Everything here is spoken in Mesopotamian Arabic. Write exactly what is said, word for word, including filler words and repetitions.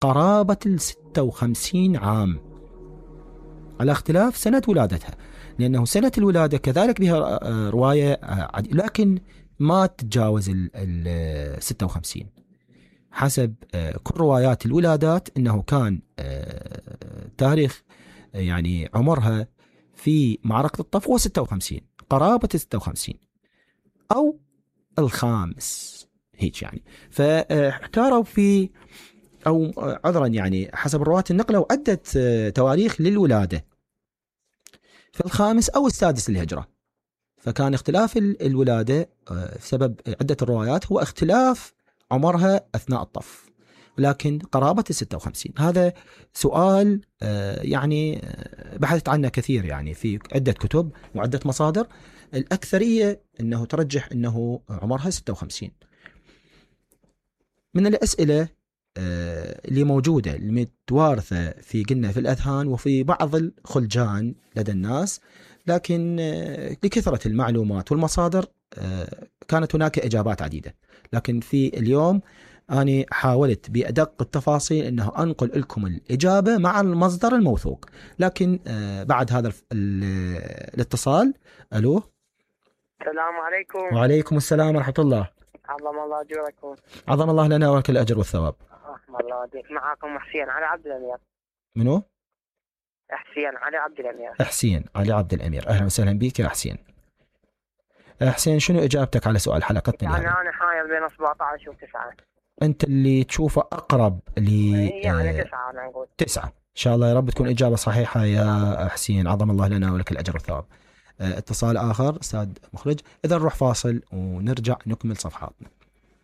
قرابة الستة وخمسين عام، على اختلاف سنة ولادتها، لأنه سنة الولادة كذلك بها رواية لكن ما تتجاوز ال ستة وخمسين حسب كل روايات الولادات، أنه كان تاريخ يعني عمرها في معركة الطف هو ستة وخمسين، قرابة ستة وخمسين أو الخامس هيك يعني. فاحتاروا في أو عذرا يعني حسب الرواة النقلة عدة تواريخ للولادة في الخامس أو السادس للهجرة، فكان اختلاف الولادة بسبب عدة الروايات هو اختلاف عمرها أثناء الطف، لكن قرابة الستة وخمسين. هذا سؤال يعني بحثت عنه كثير يعني في عدة كتب وعدة مصادر، الأكثرية أنه ترجح أنه عمرها ستة وخمسين. من الأسئلة اللي موجودة المتوارثة في قلنا في الأذهان وفي بعض الخلجان لدى الناس، لكن لكثرة المعلومات والمصادر كانت هناك إجابات عديدة، لكن في اليوم أنا حاولت بأدق التفاصيل أنه أنقل لكم الإجابة مع المصدر الموثوق. لكن بعد هذا الاتصال، ألو، السلام عليكم. وعليكم السلام ورحمة الله. عظم الله أجركم. عظم الله لنا ولك الأجر والثواب. رحم الله أجرك. معكم حسين علي عبد الأمير. منو؟ حسين علي عبد الأمير. حسين علي عبد الأمير، أهلا وسهلا بك يا حسين. حسين، شنو إجابتك على سؤال حلقتنا؟ يعني أنا حاير بين سبعة عشر وتسعة. أنت اللي تشوفه أقرب لي. يعني تسعة أنا أقول. تسعة إن شاء الله، يا رب تكون إجابة صحيحة يا حسين. عظم الله لنا ولك الأجر والثواب. اتصال آخر أستاذ مخرج، إذا نروح فاصل ونرجع نكمل صفحاتنا.